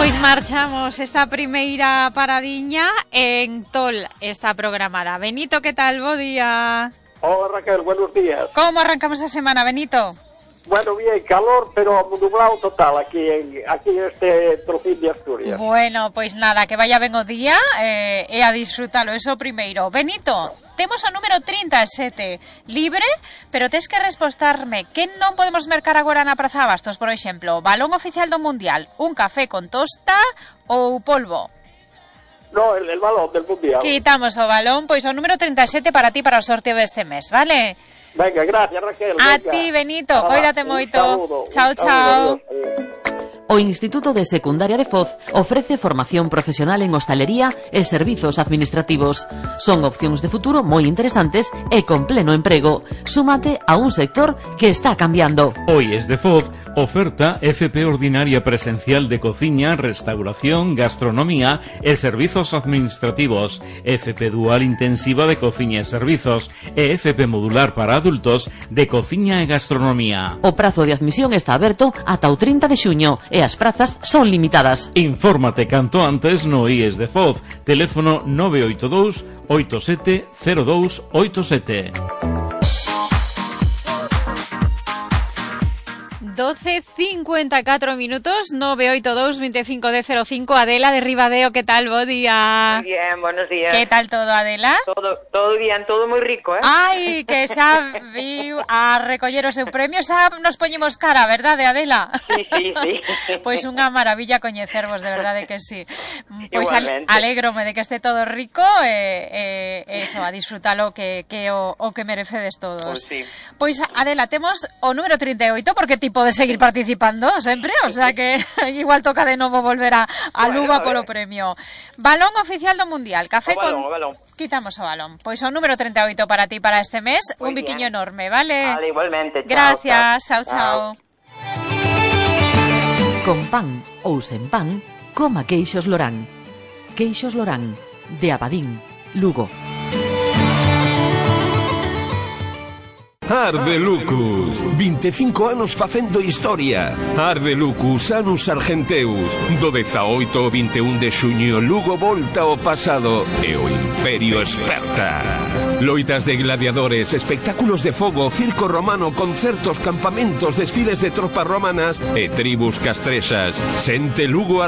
Pois marchamos esta primeira paradiña en Tol, está programada. Benito, que tal? Bo día. Hola Raquel, buenos días. Como arrancamos a semana, Benito? Bueno, bien, calor, pero nublado total aquí en este trocín de Asturias. Bueno, pois nada, que vaya ben o día e a disfrutalo, eso primeiro. Benito, temos o número 37 libre, pero tes que respostarme que non podemos mercar agora na Praza Abastos, por exemplo, balón oficial do Mundial, un café con tosta ou polvo. No, el balón del Mundial. Quitamos o balón, pois o número 37 para ti para o sorteo deste mes, vale? Venga, gracias Raquel. A venga. ti, Benito, Hola, cóidate moito. Chao, Chao. O Instituto de Secundaria de Foz ofrece formación profesional en hostalería e servizos administrativos. Son opcións de futuro moi interesantes e con pleno emprego. Súmate a un sector que está cambiando. Hoy es de Foz, oferta FP ordinaria presencial de cociña, restauración, gastronomía e servizos administrativos, FP dual intensiva de cociña e servizos e FP modular para adultos de cociña e gastronomía. O prazo de admisión está aberto ata o 30 de xuño e as prazas son limitadas. Infórmate canto antes no IES de Foz, teléfono 982 87 0287. 12:54 minutos, 982 25 de 05. Adela de Ribadeo, ¿qué tal? Bo día. Muy bien, buenos días. ¿Qué tal todo, Adela? Todo bien, todo muy rico, Ai, que xa viu a recoller o seu premio, xa nos poñemos cara, verdade, Adela? Sí. Pois unha maravilla coñecervos, de verdade que sí. Pois Igualmente. alégrome de que este todo rico e eso, a disfrutalo que o que merecedes todos. Pois sí. Pois, Adela, temos o número 38, porque tipo de seguir participando sempre, o sea que igual toca de novo volver a Lugo a polo premio. Balón oficial do Mundial, café O balón. Quitamos o balón. Pois o número 38 para ti para este mes, Muy un biquiño bien. enorme, ¿vale? Vale, igualmente. Gracias, chao. Con pan ou sen pan, coma queixos Lorán. Queixos Lorán, de Abadín, Lugo. Arde Lucus, 25 anos facendo historia. Arde Lucus, Anus Argenteus. Do 18 ao 21 de xuño, Lugo volta ao pasado e o Imperio esperta. Loitas de gladiadores, espectáculos de fogo, circo romano, concertos, campamentos, desfiles de tropas romanas e tribus castrexas. Sente Lugo